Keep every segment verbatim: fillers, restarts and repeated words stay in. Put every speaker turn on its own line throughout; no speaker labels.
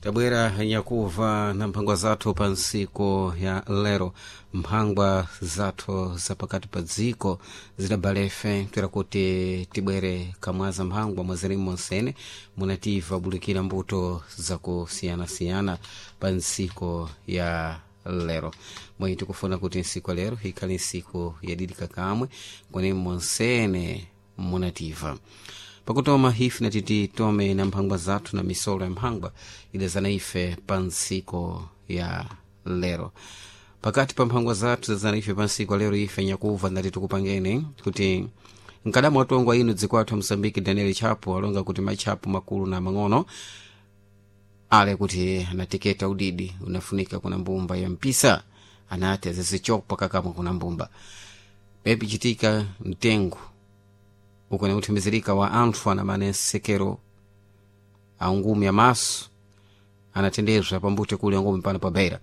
Tabwera nyakuva na mphangwa zathu pa ntsiku ya lero. Mphangwa zathu zapakati pa dziko zidabalefe toera kuti tibwere kamwaza mphangwa mwazirimu monsene munativa bulikira mbuto zakusiyanasiyana pa ntsiku ya lero. Mwe tikufuna kuti ntsiku ya lero ikhale ntsiku yadidika kamwe kune monsene munativa pakutoma ife natiti tome na mphangwa zathu na misolo ya mphangwa idazana ife pa ntsiku ya lero. Pakati pa mphangwa zathu zazana ife pa ntsiku ya lero, ife nyakuva ndati tikupangeni kuti mkadamu watongwa inu dziko athu Mosambiki Daniel Chapo alonga kuti matchapo makulu na mang'ono ale kuti anateketa udidi unafunika kuna mbumba ya mpisa, anati azizichopa kakamwe kuna mbumba pepichitika mtengo ukone uthimizirika wa anthu anamane nsekero angumi amaso anatendezwa pambute kuli angumi pano pa Beira.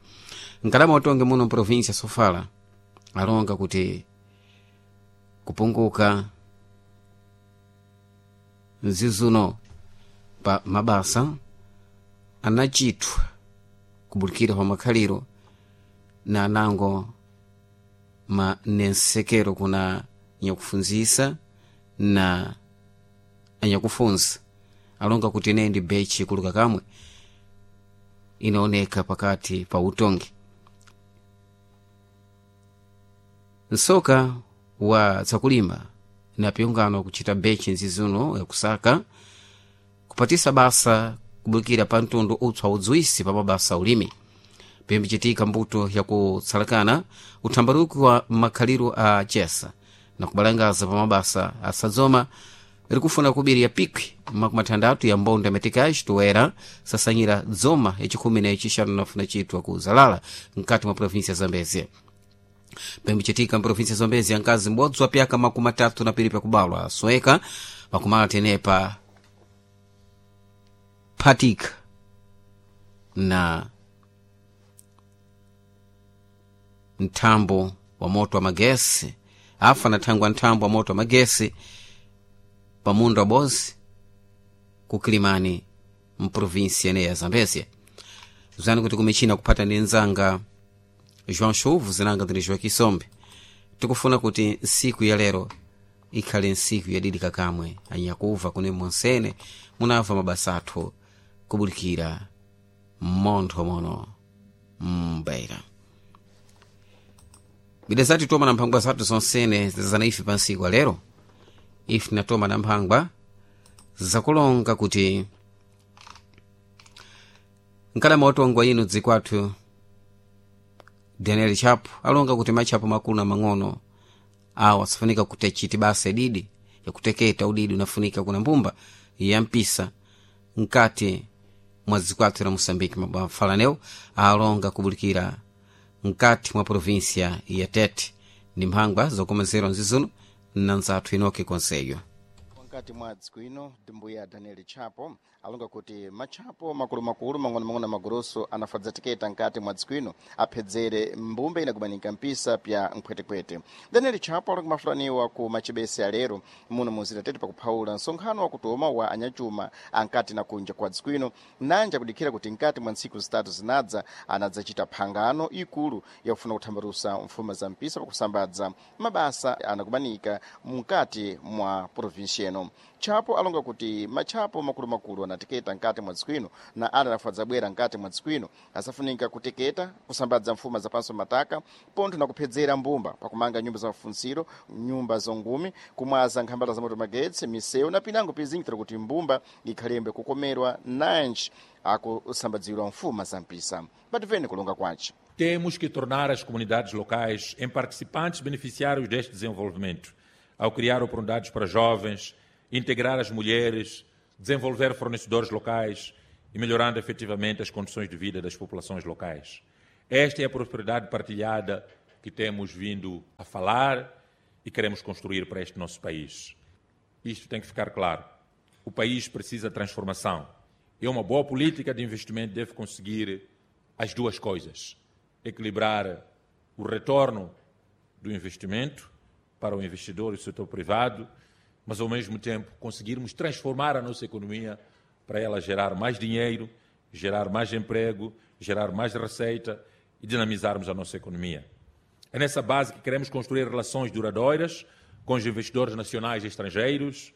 Mkalama utonge muno mprovinsia Sofala alonga kuti kupunguka mzizuno pa mabasa anachithwa kubulikira pa makhaliro na anango ma nensekero kuna nyakufunzisa na anyakufunza alonga kuti ineyi ndi bechi kuluka kamwe inaoneka pakati pa utongi. Nsoka wa zakulima na pyungano kuchita bechi nzizuno yakusaka kupatisa basa kubulikira pa mtundu utswa udzwisi pa mabasa ulimi pimbichitika mbuto yakutsalakana uthambaruki wa makhaliro a chesa na kubalangaza pa mabasa asadzoma likufuna kubirira pikwi makumi atandatu ya mbonda metikaji toera sasanyira dzoma yachikhumi na yachixanu nafuna chitwa ku zalala mkati mwa provinsia ya Zambezia. Pembichitika mprovinsia ya Zambezia nkazi m'bodzi wa pyaka makumi atatu na piri pyakubalwa asweka pakumala tenepa phatika na mthambo wa moto wa magesi afa nathangwa nthambo wa moto wa magesi pamunda wa bozi kukilimani mprovinsia ene ya Zambezia. Zani kuti kumichina kuphata ndi nzanga João Chuvu zinanga ndili João Kisombe. Tikufuna kuti ntsiku ya lero ikhale ntsiku yadidika kamwe anyakuva kune monsene munamva mabasa athu kubulikira mmontho mono mbeira bida zati toma na mphangwa zathu zonsene zazana ife pa ntsiku lero. Ife tinatoma na mphangwa zakulonga kuti mkalama watongwa inu dziko athu Daniel Chapo alonga kuti matchapo makulu na mang'ono awa asafunika kuti achite basa ididi yakuteketa udidi unafunika kuna mbumba ya mpisa mkati mwa dziko athu la Moçambique. Mafalanewo alonga kubulikira mkati mwa provinsia ya Tete ndi mphangwa zokomezerwa nzizuno na nzathu Inoke Konseyo.
Mkati mwa dziko ino ndimbuya Daniel Chapo alonga kuti matchapo makulumakulu mang'onomang'ono magoroso anafadza tiketa nkati mwa dziko ino aphedzere mbumba inakumanika mpisa pya nkhwetekhwete. Daniel Chapo alonga mafulaniwa ku machibese alero muno muzira Tete pakuphawula nsonkhano wakutoma wa anyachuma ankati na kunja kwa dziko ino nanja kudikhira kuti nkati mwa ntsiku zitatu zinadza anadzachita phangano ikulu yakufuna kuthambalusa mfuma za mpisa pakusambadza mabasa anakumanika mkati mwa provinsi ino. Chapo alonga kuti matchapo makulumakulu anateketa nkati mwa dziko ino na ala anafadza bwera nkati mwa dziko ino asafunika kuteketa kusambadza mfuma zapanso mataka pontho na kuphedzera mbumba pakumanga nyumba za mafunsiro, nyumba zongumi, kumwaza nkhambala za moto magetsi, misewu na pinango pizingitira kuti mbumba ikhalembe kukomerwa nanji akusambadzirwa mfuma za mpisa. Bativene kulonga kwace.
Temos que tornar as comunidades locais em participantes beneficiários deste desenvolvimento, ao criar oportunidades para jovens, integrar as mulheres, desenvolver fornecedores locais e melhorando efetivamente as condições de vida das populações locais. Esta é a prosperidade partilhada que temos vindo a falar e queremos construir para este nosso país. Isto tem que ficar claro. O país precisa de transformação. E uma boa política de investimento deve conseguir as duas coisas: equilibrar o retorno do investimento para o investidor e o setor privado, mas ao mesmo tempo conseguirmos transformar a nossa economia para ela gerar mais dinheiro gerar mais emprego, gerar mais receita e dinamizarmos a nossa economia. É nessa base que queremos construir relações duradouras com os investidores nacionais e estrangeiros,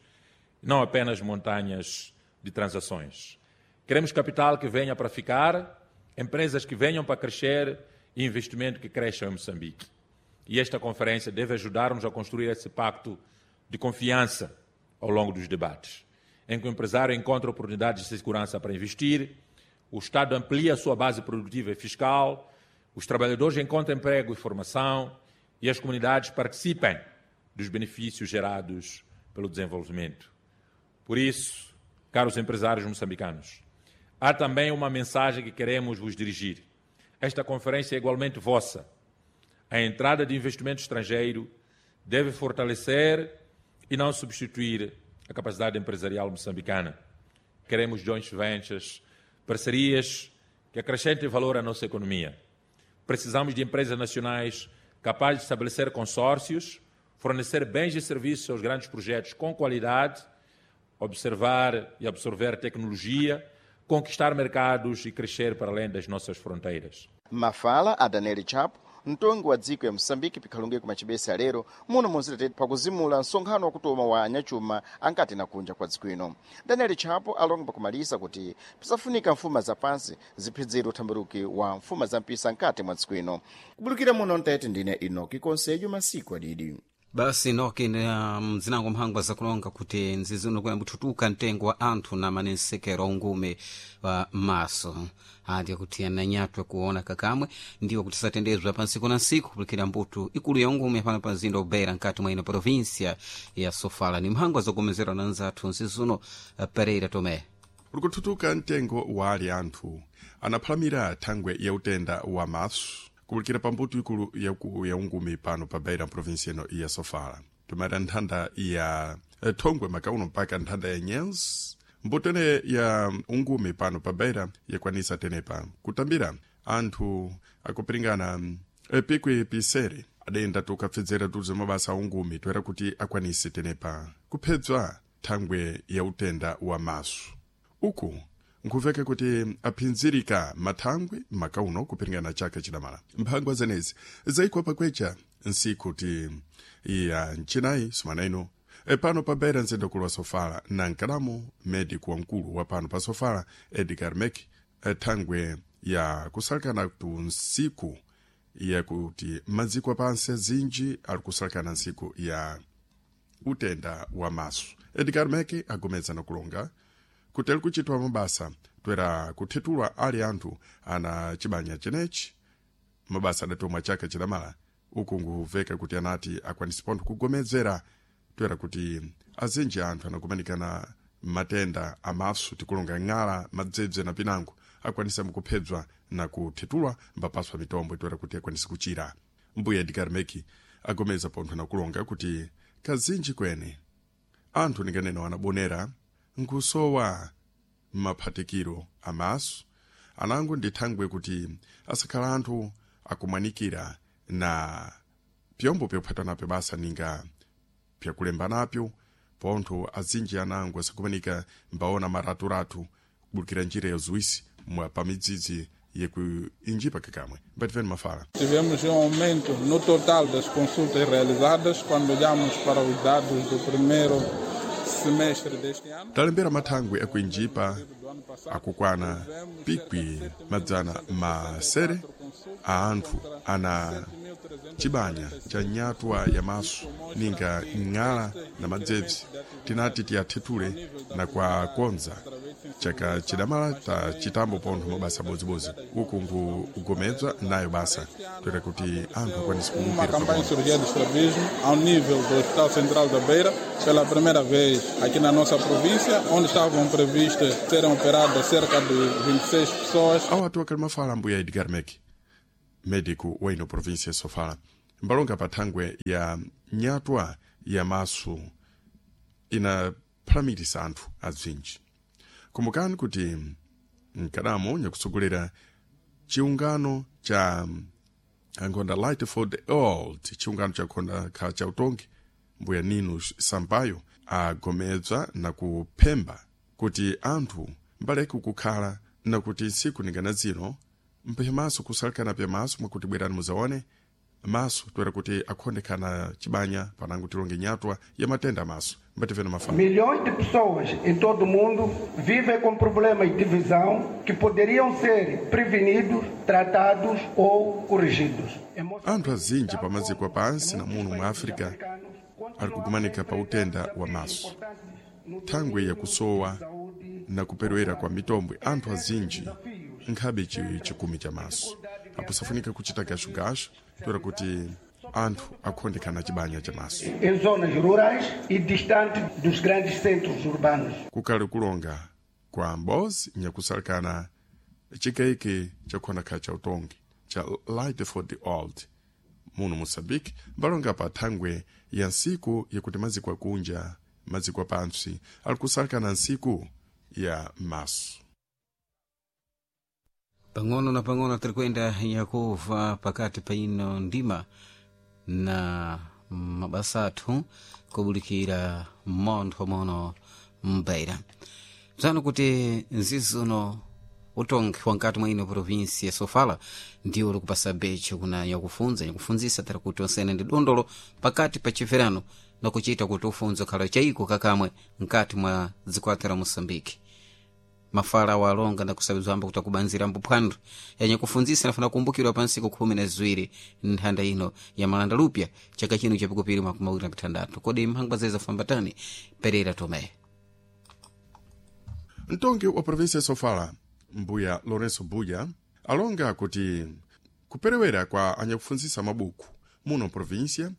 não apenas montanhas de transações. Queremos capital que venha para ficar, empresas que venham para crescer e investimento que cresça em Moçambique. E esta conferência deve ajudar-nos a construir esse pacto de confiança ao longo dos debates, em que o empresário encontra oportunidades de segurança para investir, o Estado amplia a sua base produtiva e fiscal, os trabalhadores encontram emprego e formação e as comunidades participem dos benefícios gerados pelo desenvolvimento. Por isso, caros empresários moçambicanos, há também uma mensagem que queremos vos dirigir. Esta conferência é igualmente vossa. A entrada de investimento estrangeiro deve fortalecer e não substituir a capacidade empresarial moçambicana. Queremos joint ventures, parcerias que acrescentem valor à nossa economia. Precisamos de empresas nacionais capazes de estabelecer consórcios, fornecer bens e serviços aos grandes projetos com qualidade, observar e absorver tecnologia, conquistar mercados e crescer para além das nossas fronteiras.
Mafala a Daniel Chapo, mtongi wa dziko ya Moçambique pikhalunge kumachibesa lero muno munzira pakuzimula msonkhano wakutoma wa anyachuma ankati na kunja kwa dziko ino. Daniel Chapo alonga pakumalisa kuti pisafunika mfuma za pansi ziphidzire uthambiruki wa mfuma za mpisa nkati mwa dziko ino. Kubulukira muno mtete ndine Inoki Konsejo masiku adidi.
Basi noki na mzinango mphangwa zakulonga kuti nzizi uno kuyambuthutuka mtengo wa anthu na manensekero ungume wa maso andi kuti ananyatwe kuona kakamwe ndiwo kuti satendezwa pa nsiku na nsiku kulikira mbuto ikulu ya ungume pano pa mzinda ubeira nkati mwa ino província ya Sofala. Ni mphangwa zogomezerwa na nzathu nzizi uno Pereira Tomé.
Ulikuthuthuka mtengo wa ali anthu anaphalamira thangwe ya utenda wa maso kubulikira pambuto ikulu yaku ya ungumi pano pa Beira província ino ya Sofala. Tumata nthanda ya thongwe makauno mpaka nthanda ya Nyenzi, mbuto ene ya ungumi pano pa Beira yakwanisa tenepa kutambira anthu akupiringana pikwi pisere adenda tukapfedzera tuze mabasa a ungumi toera kuti akwanise tenepa kuphedzwa thangwe ya utenda wa maso. Uku nkhuveka kuti aphinzirika mathangwe makauno kupiringana chaka chidamala. Mphangwa zenezi zayikwa pakwecha nsiku ti ya mchinayi sumana ino e pano pa Beira mzindakulu wa Sofala na nkalamu medico wamkulu wa pano pa Sofala Edgar Mek thangwe ya kusalakana tu nsiku yakuti maziko apansi azinji ali kusalakana nsiku ya utenda wa maso. Edgar Mek agomeza na kulonga kuti ali kuchitwa mabasa toera kuthethulwa ali anthu ana chibanya chenechi mabasa adatomwa chaka chidamala. Uku nkuveka kuti anati akwanise pontho kugomezera toera kuti azinji anthu anakumanikana matenda amaso tikulonga ng'ala madzebze na pinango akwanisa mukuphedzwa na kuthethulwa mbapaswa mitombo toera kuti akwanise kuchira. Mbuya Edgar Meki agomeza pontho nakulonga kuti kazinji kwene anthu ninganena anabonera nkusowa maphatikiro amaso anango ndi thangwe kuti asakhala anthu akumwanikira na pyombo pyophata napyo basa ninga pyakulemba napyo pontho azinji anango asakumanika mbaona maraturatu kubulikira njira ya zuwisi mwa pamidzidzi yekuinjipa kakamwe. Mbativeni mafala.
Tivemos um aumento no total das consultas realizadas quando olhamos para os dados do primeiro semestre deste ano.
Talembera mathangwe akuinjipa akukwana pikwi madzana masere a anthu ana chibanya cha nyatwa ya maso ninga ng'ala na madzebzi tinati tiyathethule na kwakonza chaka chidamala ta chitambo pontho mabasa bodzibodzi uku nkugomedzwa nayo basa toera kuti anthu akwanise
Uma campanha de cirurgia de estrabismo ao nível do Hospital Central da Beira, pela primeira vez aqui na nossa província, onde estavam previstas serem operadas cerca de vinte e seis pessoas.
Ao atu akali mafala ambuya Edgar Mek, médico wa ino província Sofala, mbalonga pa thangwe ya nyatwa ya maso inaphalamilisa anthu azinji. Kumbukani kuti mkadamo nyakutsogolera chiungano cha ankhonda Light for the Old, chiungano cha khonda kha cha utongi, mbuya Nino Sampaio agomedza na kuphemba kuti anthu mbaleke kukhala Nakuti ntsiku ningana zino mphe maso kusalekana pya maso mwakuti bwerani muzaone maso toera kuti akhondekana chibanya panango tilonge nyatwa ya matenda maso mbativena mafala.
Milhões de pessoas em todo o mundo vivem com problemas de visão que poderiam ser prevenidos, tratados ou corrigidos.
Anthu azinji pamaziko apansi na muno mwa África ali kukumanika pa utenda wa maso thangwe yakusowa na kuperewera kwa mitombwe. Anthu azinji nkhabe chikumi cha maso apo safunika kuchita gashugashu toera kuti anthu akhondekana chibanya cha maso
em zonas rurais e distante dos grandes centros urbanos.
Kukali kulonga kwa mbozi nyakusalekana chikaike chakukhondakhala cha utongi cha Light for the Old muno Moçambique mbalonga pa thangwe ya nsiku yakuti maziko akunja maziko apantsi ali kusalekana nsiku ya maso.
Pang'ono na pang'ono tiri kuyenda yakuva pakati pa ino ndima na mabasa athu kubulikira montho mono mbeira bzano kuti nzizi uno utongi wankati mwa ino provinsi ya Sofala ndiwo likupasa becho kuna yakufunza yakufunzisa tiri kuti onsene ndi dondolo pakati pa chiverano na kuchita kuti ufunzo khala chaiko kakamwe nkati mwa dzikwata la Moçambique. Mafala walonga na kusabizwamba kuti akubanzira mbuphwando yanye kufunzisa nafuna kumbukirwa pa nsiku khumi na ziwiri nthanda ino ya malanda lupya chaka chino chapikupiri makumi awiri na pithandatu. Kodi mphangwa zeza fambatani Pereira Tomé.
Mtongi wa provinsi ya Sofala mbuya Lourenço Buya alonga kuti kuperewera kwa anyakufunzisa mabuku muno provinsia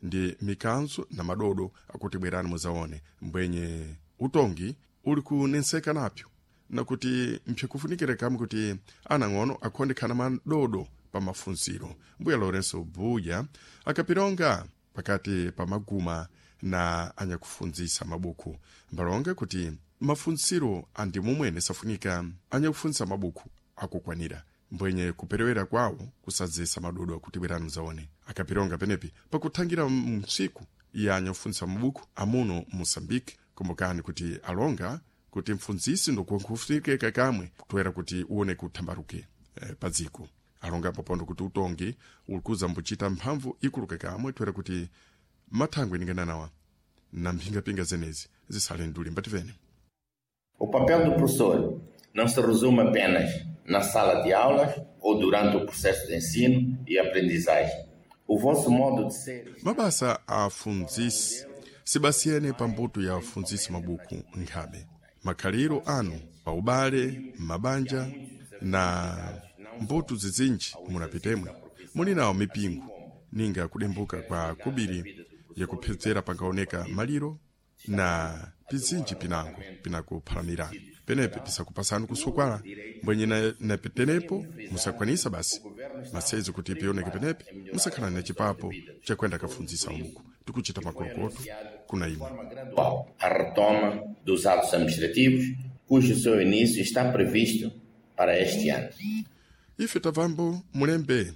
ndi mikanzo na madodo akuti bwerani muzaone mbwenye utongi uli kunenseka napyo nakuti mpyakufunikira kamwe kuti anang'ono akhondekhana madodo pa mafunziro. Mbuya Lourenço Buya akapilonga pakati pa maguma na anyakufunzisa mabuku mbalonga kuti mafunziro andi mumwene safunika anyakufunzisa mabuku akukwanira mbwenye kuperewera kwawo kusadzesa madodo akuti bwerani muzaone. Akapilonga penepi pakuthangira msiku ya anyakufunzisa mabuku amuno Moçambique. Kumbukani kuti alonga kuti mfunzisi ndokufunikeka kamwe kutwera kuti uone kuthambaruke e, padziko alonga popondo kuti utongi ulikuza mbuchita mphamvu ikuluka kamwe twera kuti mathangwe ningananawa na mphingapinga zenezi zisale nduli mbativene.
O papel do professor não se resume apenas na sala de aulas ou durante o processo de ensino e aprendizagem. O vosso modo de ser.
Mabasa afunzisi sibasiyene pambuto ya afunzisi mabuku nkhabe makhaliro anu paubale mabanja na mbuto zizinji munapitemwe muli nawo mipingo ninga kudembuka kwa kubiri yakuphedzera pangaoneka maliro na pizinji pinango pinakuphalamira penepe pisakupasani kusukwala mbwenye napetenepo musakwanisa basi masezo kuti pioneke penepe musakhala na chipapo chakwenda kafunzisa ubuku tikuchita makolokoto kuna imwe.
A retoma dos atos administrativos, cujo seu início está previsto para este ano.
Ife tabvambo mulembe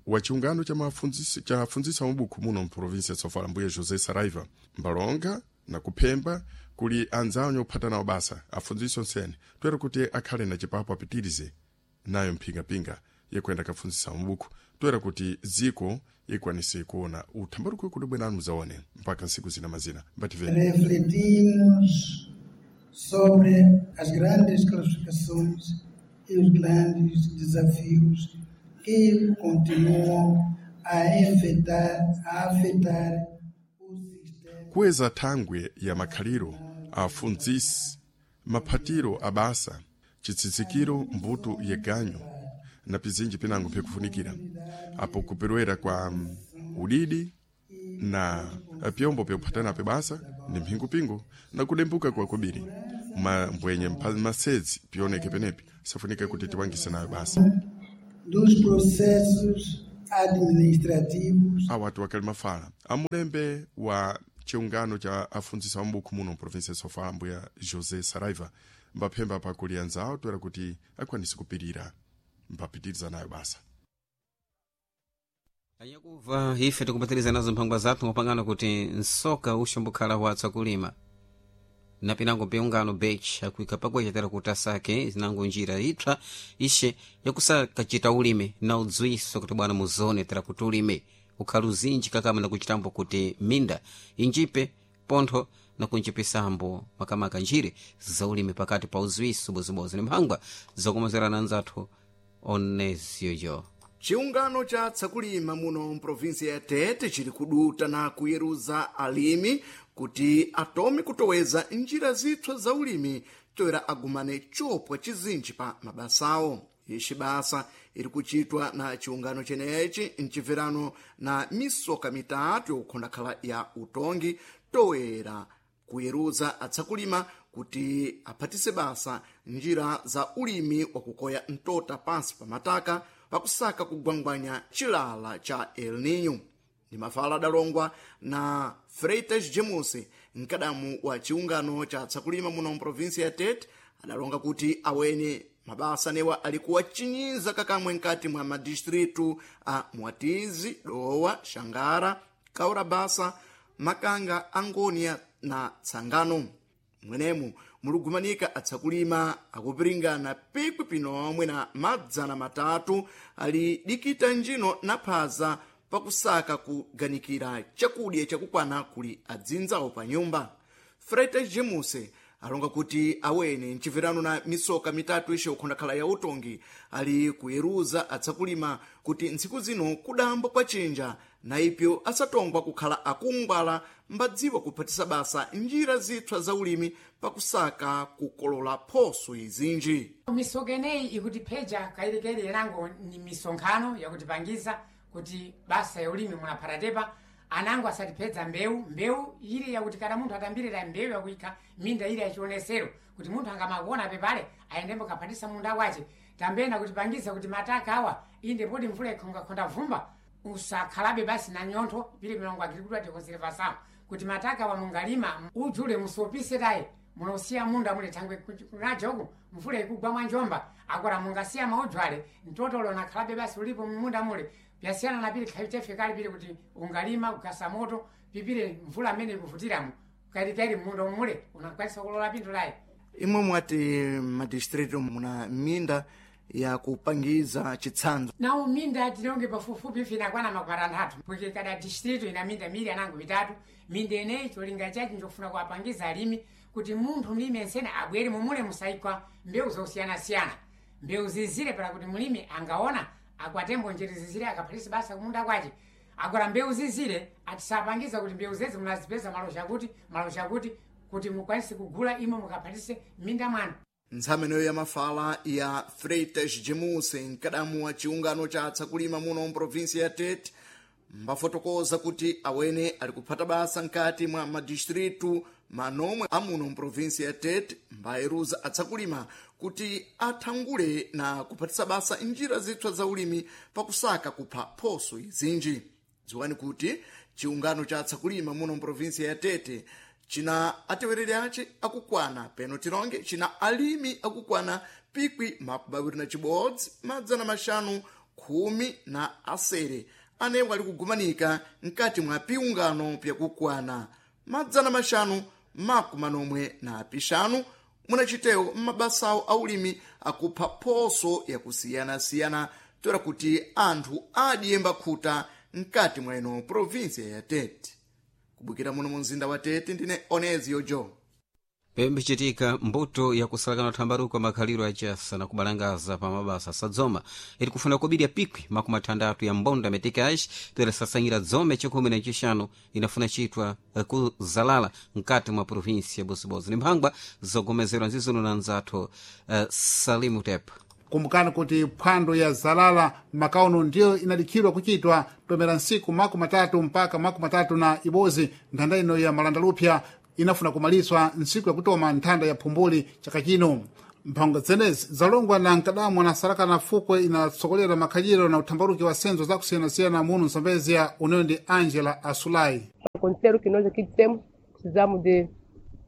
wa chiungano cha mafunzisi cha funzisa mabuku muno mprovinsi ya Sofala mbuye José Saraiva mbalonga na kuphemba kuli anzawo nyophata nawo basa afunzisi onsene toera kuti akhale na chipapo apitirize nayo mphingapinga yekwenda kafunzisa mabuku toera kuti dziko ikwanise kuona uthambaruko kuti bwenani muzaone mpaka nsiku zina mazina mbativeni.
Refletimos sobre as grandes classificações e os grandes desafios que continuam a afetar, a afetar o sistema.
Kuweza thangwe ya makhaliro afunzisi maphatiro abasa chitsitsikiro mbuto yeganyo na pizinji pinango phikufunikira apo kuperewera kwa udidi na pyombo pyokuphatana basa ndi mphingupingo na kudembuka kwa kubiri mbwenye masedzi pioneke penepi safunika kuti tiwangise nayo basa
dos processos administrativos.
Awatu wakali mafala amulembe wa chiungano cha afunzisa mabuku muno mprovinsi ya Sofala mbuya José Saraiva mbaphemba pakuli anzawo toera kuti akwanise kupirira mpapitiriza nayo basa.
Anyakuva ife tikupatiriza nazo mphangwa zathu ngopangana kuti nsoka uxombokhala watsa kulima Na pinango piungano bech akuika pakwecha tera kuti asake zinango njira ipsa ishe yakusakachita ulimi na udzwiso kuti bwana muzone tera kuti ulime ukhali uzinji kakama nakuchitambo kuti minda injipe pontho nakunjipisambo makamaka njire za ulimi pakati pa uzwiso bozibozi ni mphangwa zokomozerana anzathu oneziyoyo.
Chiungano cha tsakulima muno mprovinsia ya Tete chili kuduta na kuyeruza alimi kuti atome kutoweza njira zipsa za ulimi toera agumane chopwa chizinji pa mabasawo. Ixi basa iri kuchitwa na chiungano chenechi mchibverano na misoka mitatu yokukhondakhala ya utongi toera kuyeruza atsakulima kuti aphatise basa njira za ulimi wakukoya mtota pansi pa mataka pakusaka kugwangwanya chilala cha El Nino. Ndi mafala adalongwa na Freitas James, mkadamu wa chiungano cha tsakulima muno mprovinsia ya Tete, adalonga kuti awene mabasa newa alikuwa chinyiza kakamwe nkati mwa madistritu a Mwatizi, Dowa, Xangara, Kaurabasa, Makanga, Angonia na Tsangano. Mwenemu muligumanika atsakulima akupiringana pikwi pinomwe na madzana matatu ali dikita njino na phaza pakusaka kuganikira chakudya chakukwana kuli adzinzawo pa nyumba. Freitas Jemuse alonga kuti awene mchibverano na misoka mitatu ishe ukhondakhala ya utongi ali kuyeruza atsakulima kuti ntsiku zino kudambo kwa chinja na ipyo asatongwa kukhala akungwala mbadziwa kuphatisa basa njira zipsa za ulimi pakusaka kukolola phoso izinji.
Misoka ineyi ikutipheja kairikairi ilango ni misonkhano yakutipangiza kuti basa ya ulimi munaphatatepa anango asatipedza mbewu mbewu ili yakuti kana munthu atambirira mbewu yakuikha minda ili yachionesero kuti munthu angamakuona pepale ayendembo kaphatisa munda wace. Tambena kutipangiza kuti mataka awa inde poti mvula ikhongakhonda vumba usakhalabe basi na nyontho pili milongo agricultura tikonservação kuti mataka awa mungalima ujule musopise tayi munosiya munda mule thangwe kunajoku mvula ikugwa mwa njomba akora mungasiya maujwale mtotolo nakhalabe basi ulipo munda mule pyasiyana na pili khayu chafekali pili kuti ungalima kugasa moto pipile mvula amene ikuvutiramo kairikairi munda mule unakwanisa kulola pinthu layi.
Imwe mwati madistritu muna minda yakupangiza chitsanzo.
Nawo minda tilonge pafupifupi ife inakwana makumi atanthatu porque kada distrito ina minda mili anango mitatu. Minda ineyi cholinga chachi njofuna kuwapangiza alimi kuti munthu mlimi ensene abwere mumule musaikwa mbewu zosiyanasiyana mbewu zizire para kuti mlimi angaona akwatembo njere zizire akaphatisa basa kumunda kwace. Agora mbewu zizire atisapangiza kuti mbewu zezi munazipeza malo chakuti malo chakuti kuti mukwanise kugula imwe mukaphatise minda mwanu.
Ntsameneyo ya mafala ya Freitas Jemuse, mkadamu wa chiungano cha atsakulima muno mprovinsia ya Tete, mbafotokoza kuti awene ali kuphata basa nkati mwa madistritu manomwe amuno mprovinsia ya Tete mbayeruza atsakulima kuti athangule na kuphatisa basa njira zipsa za ulimi pakusaka kupha phoso izinji. Dziwani kuti chiungano cha atsakulima muno mprovinsia ya Tete china atewereri ace akukwana peno tilonge china alimi akukwana pikwi makumi awiri na chibodzi madzana maxanu khumi na asere anewo ali kugumanika mkati mwa piungano pyakukwana madzana maxanu makumi manomwe na pixanu munachitewo m'mabasawo aulimi akupha phoso yakusiyanasiyana toera kuti anthu adiyemba khuta mkati mwa ino provinsia ya Tete. Kubukira muno mu mzinda wa Tete ndine Onezio Joe.
Pembichitika mbuto yakusalakana thambaruko makhaliro achasa na kubalangaza pa mabasa sadzoma iri kufuna kubirya pikwi makumi athandatu ya mbonda meticais toera sasanyira dzome chikhumi na chixanu inafuna chitwa kuzalala mkati mwa provinsia ya Bosibozi. Ni mphangwa zogomezerwa nzizuno na nzathu uh, Salimu Tep.
Kumbukani kuti phwando ya zalala makauno ndiyo inadikhidwa kuchitwa tomera nsiku makumi matatu mpaka makumi matatu na ibozi. Nthanda ino ya malandalupya inafuna kumaliswa ntsiku yakutoma nthanda ya phumbuli chaka chino. Mphangwa zenezi zalongwa na mkadamu na salaka fukwe inatsokolera makhaliro na uthambaruki wa senzo zakusiyanasiyana muno msambezia uneyo ndi Angela Asulai.
Acontecer o que nós aqui temos, precisamos de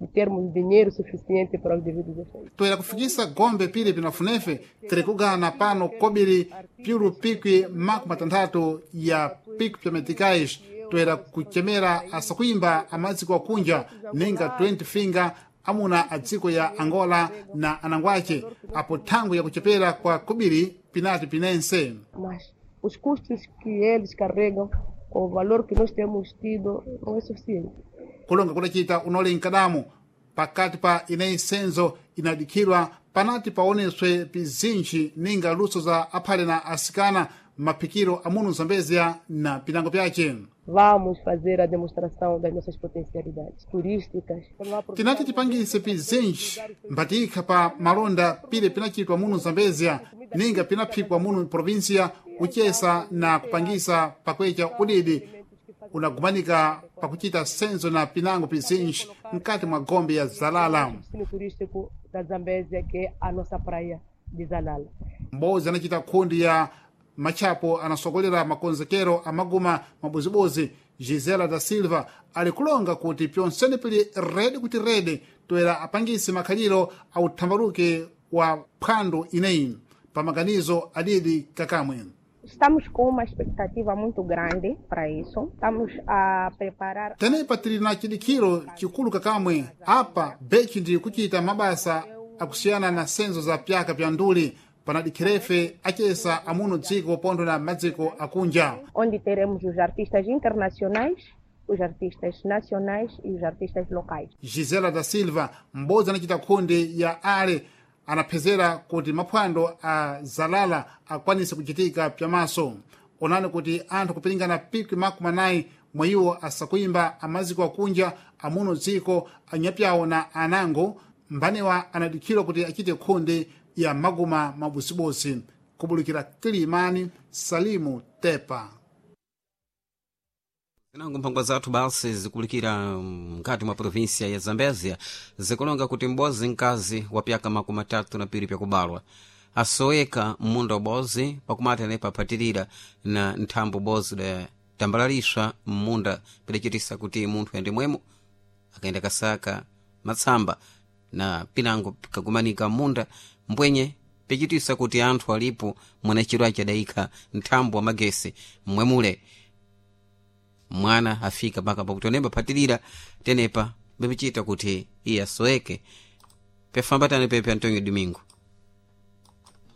de termos dinheiro suficiente para os devidos efeitos.
Toera kufikisa gombe pili pinafunefe tiri kugana pano kobiri piulu pikwi makumi matanthatu ya pikwi pya meticais toera kuchemera asakuimba amaziko akunja ninga twenty finger amuna a dziko ya Angola na anangwace apo thangwi yakuchepera kwa kubiri pinati pinense.
Mas os custos que eles carregam com o valor que nós temos tido não é suficiente.
Kulonga kudacita unole nkadamu pakati pa ineyi senzo inadikhidwa panati paoneswe pizinji ninga luso za aphale na asikana maphikiro amunu Zambezia na pinango pyace.
Vamos fazer a demonstração das nossas potencialidades turísticas.
Tinati tipangise pizinji mbatikha pa malonda pile pinachitwa munu Zambezia ninga pinaphikwa munu provinsia kuchesa na kupangisa pakwecha udidi unagumanika pakuchita senzo na pinango pizinji mkati mwa gombe ya Zalala.
Destino turístico da Zambésia, que é a nossa praia de Zalala.
Mbozi anachita khundi ya machapo anasokolera makonzekero amaguma mabuzibuzi Gisela da Silva alikulonga kuti pyonsene pili redi kuti redi toera apangise makhaliro authambaluke wa phwando ineyi pamaganizo adidi kakamwe.
Estamos com uma expectativa muito grande para isso. Estamos a preparar.
Tenepa tili na chidikhiro chikulu kakamwe apa bechi ndi kuchita mabasa akusiyana na senzo za pyaka pya nduli panadikhirefe achesa amuno dziko pontho na madziko akunja.
Onde teremos os artistas internacionais, os artistas nacionais e os artistas locais.
Gisela da Silva m'bodzi anachita khundi ya ale anaphezera kuti maphwando a Zalala akwanise kuchitika pyamaso. Onani kuti anthu kupiringana pikwi makumi anayi mwa iwo asakuyimba amaziko akunja amuno dziko anyapyawo na anango mbanewa anadikhirwa kuti achite khundi ya maguma mabusibusi kubulukira Kilimani. Salimu Tepa.
Zinango mphangwa zathu basi zikulikira mkati mwa provinsia ya Zambezia zikulonga kuti m'bozi mkazi wa pyaka makumi atatu na piri pyakubalwa asoweka m'munda ubozi pakumati anepa aphatirira na nthambo bozi da tambalaliswa m'munda pidacitisa kuti munthu ayende mwemo akaenda kasaka matsamba na pinango pikagumanika m'munda mbwenye pichitisa kuti anthu alipo mwanachiro achadayikha nthambo wa magesi mmwemule mwana afika mpaka pakuti onemba phatirira tenepa bepichita kuti iye asoweke pefambatane pepe Antonio Domingo.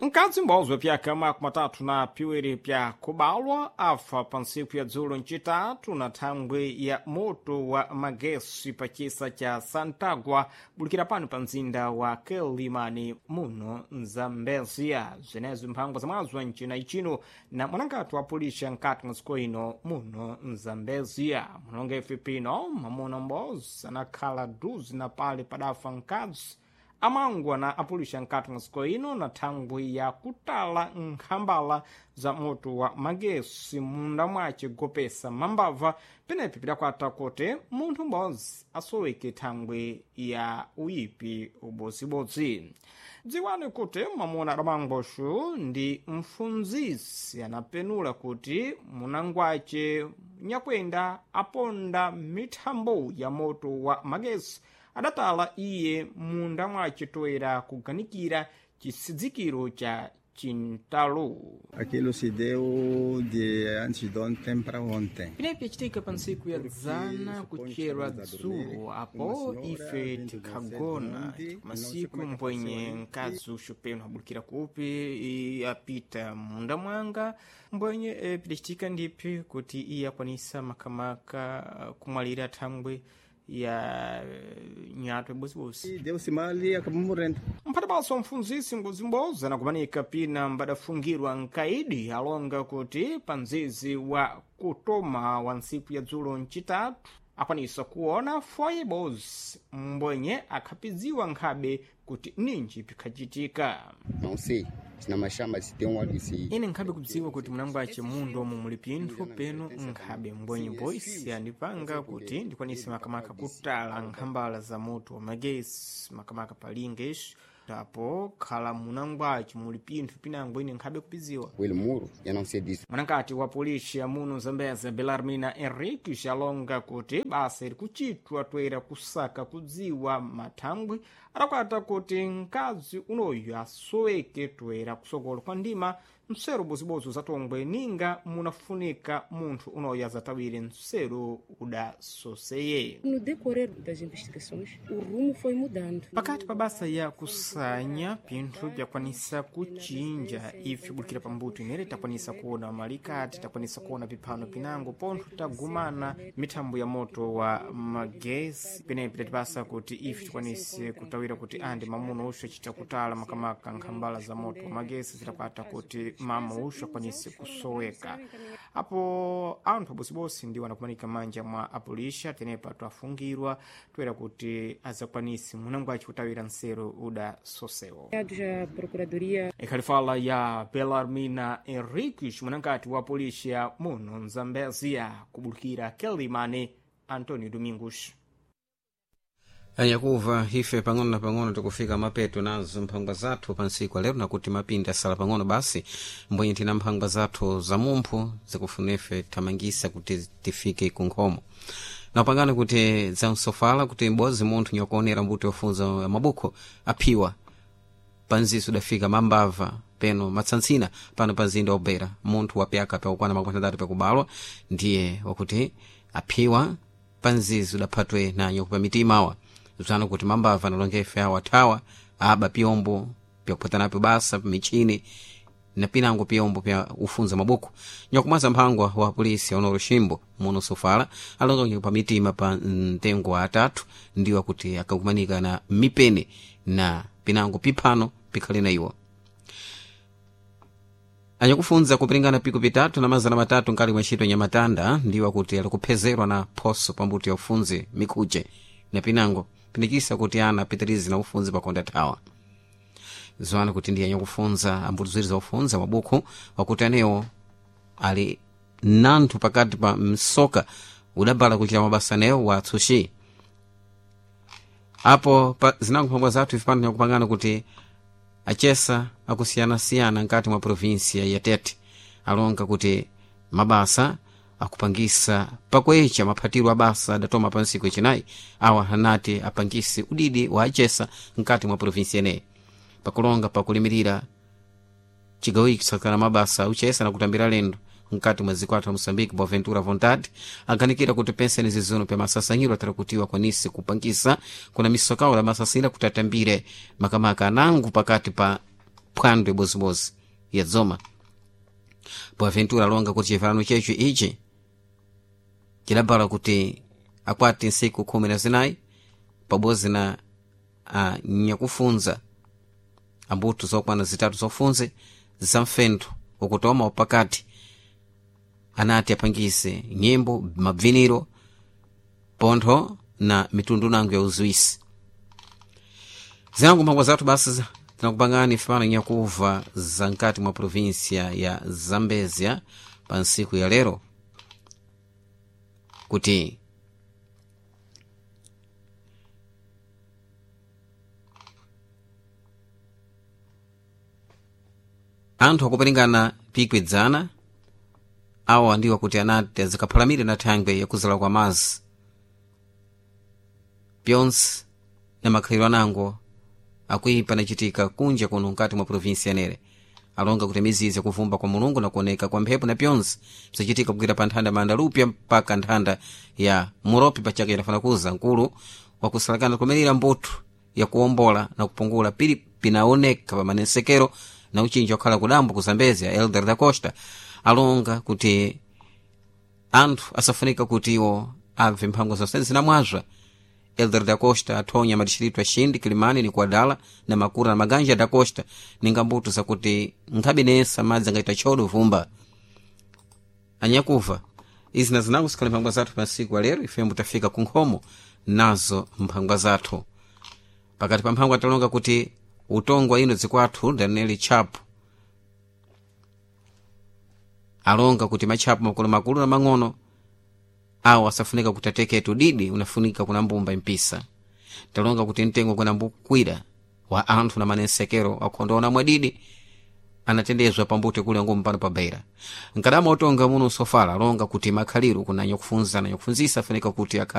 Mkadzi m'bodzi wa pyaka makumi atatu na piwiri pya kubalwa afa pa ntsiku ya dzulo ncitatu na thangwi ya moto wa magesi pa chisa cha Santagua bulikira pano pa mzinda wa Quelimane muno Mzambezia. Zwenezi mphangwa zamwazo ncina icino na mwanangati wa pulisha nkati mwa dziko ino muno Mzambezia. Munonga ife pino mwamuna m'bodzi anakhala duzi na pale padafa mkadzi amangwa na apulisha nkati mwa dziko ino na thangwi ya kutala nkhambala za moto wa magesi munda mwace gopesa mambava penepi pidakwata kuti munthu m'bodzi asoweke thangwi ya uyipi ubodzibodzi. Dziwani kuti mwamuna adamangwaxu ndi mfunzisi anapenula kuti munangwace nyakwenda aponda mithambo ya moto wa magesi adatala iye munda mwace toera kuganikira chisidzikiro cha chintalo.
Aquilo se deu de antes de ontem para ontem.
Pinepi yacitika pa ntsiku ya dzana kucherwa dzulo apo ife tikhagona masiku mbwenye mkazi uxupeno abulikira kupi apita munda mwanga mbwenye e, pidacitika ndiphi kuti iye akwanisa makamaka kumwalira thangwi ya nyato ibosibosi
Deu-se mal e acabou morrendo.
Mphatapanso mfunzisi ngozimboza anakumanika pina mbadafungirwa nkaidi alonga kuti pa mzizi wa kutoma wa ntsiku ya dzulo ncitatu akwanisa kuona foye bozi mbwenye akhapidziwa nkhabe kuti ninji pikhacitika.
Não sei se na mashamba se tem um óleo se
Ine nkhabe kudziwa kuti mnangwace mundu omwe muli pinthu penu nkhabe mbwenye boisi andipanga kuti ndikwanise makamaka kutala nkhambala za moto wa magesi makamaka palinga ixo apo khala munangwace muli pinthu pinango ine nkhabe kupidziwa.
o muro, eu não sei disso.
Mwanakati wa polisi ya muno Zambeza Belarmina Henriques alonga kuti basa iri kuchitwa toera kusaka kudziwa mathangwi Adakwata kuti mkazi unoyu asoweke toera kusokolo kwa ndima msero bozibozi zatongwe ninga munafunika munthu unoyu azatawire msero udasoseye.
No decorrer das investigações, o rumo foi mudando.
Pakati pa basa ya kusanya pinthu byakwanisa kuchinja ife bukira pambuto inere takwanisa kuona malikati, takwanisa kuona piphano pinango pontho tagumana mithambo ya moto wa magesi penepi tatipasa kuti ife tikwanise kutawira kuti andi mamuno uxo acita kutala makamaka nkhambala za moto wa magesi zitakwata kuti mama uxo akwanise kusoweka. Apo anthu abosibosi ndiwo anakumanika manja mwa apulisha tenepa twafungirwa toera kuti azakwanise munango aci kutawira nsero uda sosewo.
A Procuradoria
Ikhalifala ya Belarmina Henriques mwanankati wa polícia muno Mzambezia kubulukira Kelimane Antonio Domingos.
Anyakuva ife pang'ono na pang'ono tikufika mapeto nazo mphangwa zathu pa ntsiku ya lero, nakuti mapinda asala pang'ono basi mbwenye tina mphangwa zathu za mumphu zikufuna ife thamangisa kuti tifike kunkhomo napangana kuti zamsofala kuti m'bodzi munthu nyakuonera mbuto yofunza mabukho aphiwa panziso udafika mambava peno matsantsina pano pa mzinda wobera munthu wapyaka pyakukwana makumi atatu pyakubalwa ndiye wakuti aphiwa panzizo udaphatwe na nyokupa mitima awa bzano kuti mambava analonga ife awo athawa aba pyombo pyakuphatanapo basa michini na pinango pyombo pya ufunza mabuku nyakumwaza mphangwa wa polisi honoro shimbo muno sofala alonga nyakupa mitima pa mtengo wa atatu ndiwo kuti akakumanika na mipeni na pinango piphano pikhale na iwo anyakufunza kupiringana piko pitatu na mazana matatu nkali mwa ntchito nyamatanda ndiwo akuti alikuphezerwa na phoso pambuto ya ufunzi mikhuche na pinango pinikisa kuti ana apitirize na ufunzi pakonda thawa zoana kuti ndiye anyakufunza ambuto ziwiri za ufunza mabukhu wakuti anewo ali nanthu pakati pa msoka udabala kuchita mabasa anewo wa atsushi apo pa zinango mphangwa zathu ife pano nyakupangana kuti achesa akusiyanasiyana nkati mwa provinsia ya Tete alonga kuti mabasa akupangisa pakwecha maphatiro abasa adatoma pa ntsiku yacinayi awa anati apangise udidi wa achesa nkati mwa provinsia ineyi pakulonga pakulimirira chigawo ichi kusakana mabasa uchesa na kutambira lendo nkati mwa dziko athu a Moçambique Boaventura Vontade aganikira kuti penseni zizuno pya masasanyiro atarakutiwa kwanise kupangisa kuna misokawo la masasira kuti atambire makamaka anango pakati pa phwando ibozimozi ya dzoma. Boaventura alonga kuti chivhalano checho ichi chidabala kuti akwati ntsiku khumi na zinayi pabodzi na anyakufunza ambuto zokwana zitatu zofunze za mfentho ukutoma upakati anati apangise nyimbo mabviniro pontho na mitundu nango ya uziwisi. Zinango mphangwa zathu basi tinakupangani fano nyakuva za nkati mwa provinsia ya Zambezia pa ntsiku ya lero kuti anthu akupiringana pikwidzana awa ndiwo kuti anati azikaphalamire na thangwe yakuzala kwa mazi pyonse na makhalidwe anango akuipa nachitika kunja kuno nkati mwa provinsi yanere alonga kuti mizizi yakuvumba kwa mulungu na kuoneka kwa mphepo na pyonse bzachitika kugwira pa nthanda mandalupya mpaka nthanda ya muropi pachaka idafana kuza nkulu wakusalakana kumirira mbuthu yakuwombola na kupungula pili pinaoneka pa manensekero na uchinji wakhala kudambo ku Zambezia Elder da Costa alonga kuti anthu asafunika kuti iwo abve mphango zonse zinamwazwa. Elder da Costa athonya madixiritu axindi Kilimani ni Kuadala na Makura na Maganja da Costa ninga mbuto zakuti nkhabe nensa madzi angaita chodo vumba anyakuva izi na zinango zikhale mphangwa zathu pa ntsiku ya lero ifembo tafika ku nkhomo nazo mphangwa zathu pakati pa mphangwa talonga kuti utongwa ino dzikwathu Daniel Chapo alonga kuti matchapo makulumakulu na mang'ono awo asafunika kuti ateketu didi unafunika kuna mbumba impisa talonga kuti mtengo kuna mbukwira wa anthu na manensekero akhondoona mwadidi anatendezwa pambuto kule ngumu pano pa beira nkadama utonga muno sofala alonga kuti makhaliro kuna nyakufunza na nyakufunzisa afunika kuti akhale